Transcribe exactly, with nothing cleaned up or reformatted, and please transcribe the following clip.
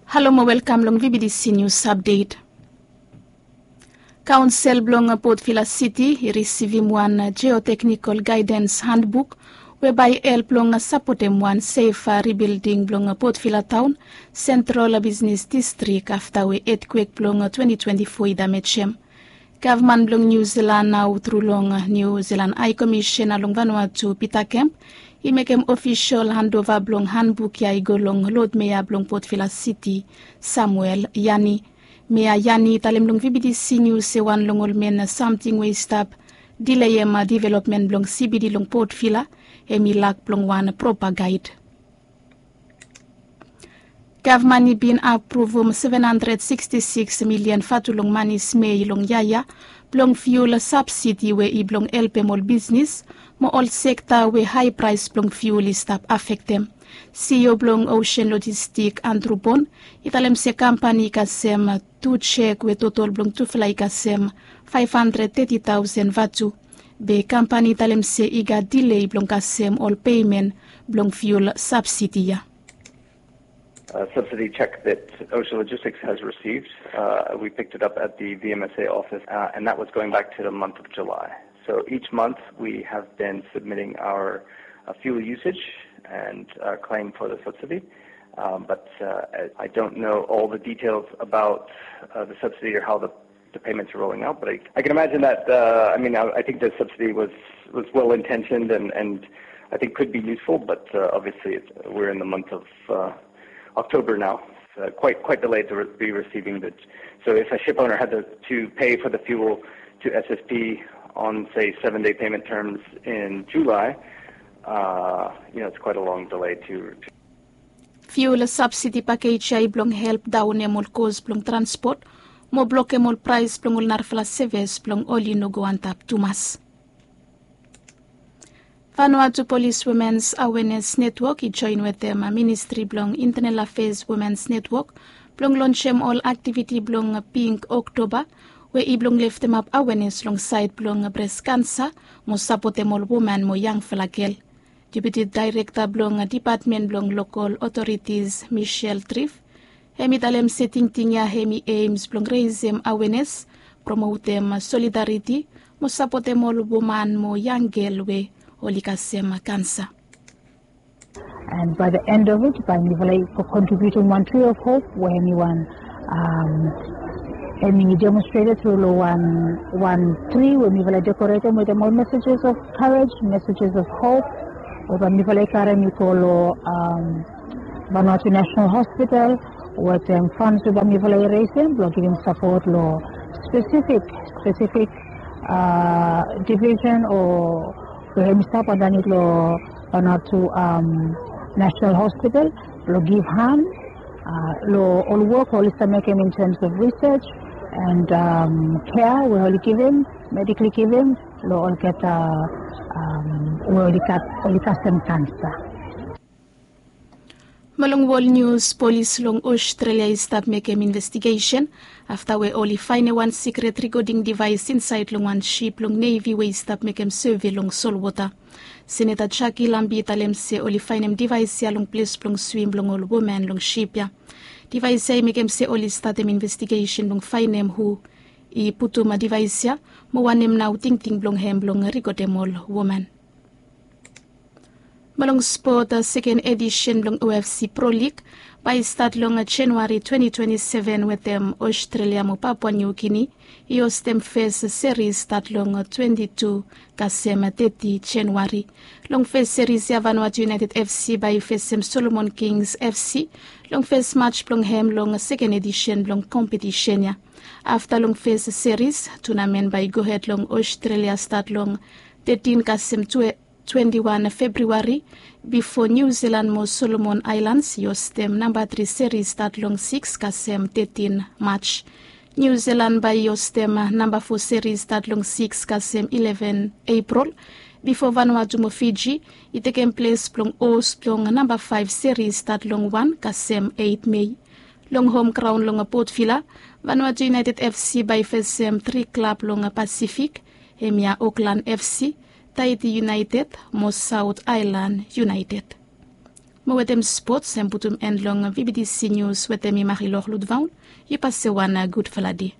Halo mo welkam long V B D C News Update. Kaonsel blong Port Vila City i risivim wan geoteknikal gaidens handbuk we bae i help long sapotem wan sef ribilding blong Port Vila taon sentral bisnis distrik afta we etkwek blong twenti twenti fo i damejem. Gavman blong Niu Zilan nao tru long Niu Zilan Hae Komisen long Vanuatu Pita Kemp i mekem ofisol handova blong handbuk ya i go long lod mea blong Port Vila Siti, Samuel Yani. Mea Yani i talem long V B D C Nius se wan long ol men samting we i stap dileem developmen blong C B D long Port Vila hem i lak blong wan propa gaed. Gavman i bin apruvum seven handred siksti siks milian vatu long mani smei long yia ya blong fiul sabsidi we i blong helpem ol bisnis mo ol sekta we hae praes blong fiul i stap afektem. CEO blong Ocean Logistik Andrew Bon i talem se kampani i kasem tu jek we totol blong tufala i kasem faef handred teti taosen vatu. Be kampani i talem se i gat dilei blong kasem ol pemen blong fiul sabsidi ya. A subsidy check that Ocean Logistics has received. Uh, we picked it up at the V M S A office, uh, and that was going back to the month of July. So each month we have been submitting our uh, fuel usage and uh, claim for the subsidy. Um, but uh, I I don't know all the details about uh, the subsidy or how the the payments are rolling out. But I, I can imagine that. Uh, I mean, I, I think the subsidy was was well intentioned and and I think could be useful. But uh, obviously, it's, we're in the month of uh, October now. Uh, quite quite delayed to re- be receiving the. So if a ship owner had to, to pay for the fuel to S S P on say seven day payment terms in July, uh, you know, it's quite a long delay to. Fiul sabsidi pakej ya i blong help daonem ol kos blong transpot mo blokem ol praes blong ol narafala seves blong oli no go antap tumas. Vanuatu Polis Womens Awenes Netwok i joen wetem Ministri blong Intenal Afeas Womens Netwok blong lonsem ol aktiviti blong Pink Oktoba we i blong leftemap awenes long saed blong bres kansa mo sapotem ol woman mo yangfala gel. Deputi Daerekta blong Dipatmen blong Lokol Otoritis Michelle Trif hem i talem se tingting ya hem i ems blong resem awenes, promotem solidariti mo sapotem ol woman mo yang gel we oli kasem kansa. And by the end of it, bae mifala i contributing one tree of hope we hemi wan um, hemi demonstrated through lo one one tree we mifala decorated with all messages of courage, messages of hope. We bae mifala i karem i go lo um, Vanuatu National Hospital with um, funds we bae mifala i raisem blong givim support lo specific specific uh, division o we hemi stap andanit lo Vanuatu um, National Hospital blong give hand uh, lo ol wok oli stap mekem in terms of research and um, care we oli givim, medically givim lo olgeta um, we oli gat oli kasem kansa. Mo long wol nius, polis long Australia i stap mekem investigesen afta we oli faenem wan sikret rikoding divaes insaed long wan sip blong nevi we i stap mekem seve long solwota. Seneta Jackie Lambie i talem se oli faenem divaes ya long ples blong swim blong ol woman long sip ya. Divaes ya i mekem se oli statem investigesen blong faenem hu i putum divaes ya mo wanem nao tingting blong hem blong rikodem ol woman. Mo long spot, seken edisen blong O F C Pro League bae i stat long Januari twenti twenti seven wetem Australia mo Papua New Guinea i hostem fes seris stat long twenti tu kasem teti Januari. Long fes seris ya Vanuatu United F C bae i fesem Solomon Kings F C long fes maj blong hem long seken edisen blong kompetisen ya. Afta long fes seris, tunamen bae i gohed long Australia stat long tetin kasem twenti wan Februari bifo Niu Zilan mo Solomon Aelans i hostem namba tri seris stat long sikis kasem tetin Maj. Niu Zilan bae i hostem namba fo seris stat long sikis kasem ileven Epril bifo Vanuatu mo Fiji i tekem ples blong hos blong namba faef seris stat long wan kasem eit Mei. Long hom graon long Port Vila, Vanuatu United F C bae i fesem tri klab long Pasifik, hemia Auckland F C, Tahiti United mo South Island United. Mo wetem spots em putum en long vbtc nius wetem mi marilor ludvaun. Yu pase wan gudfala de.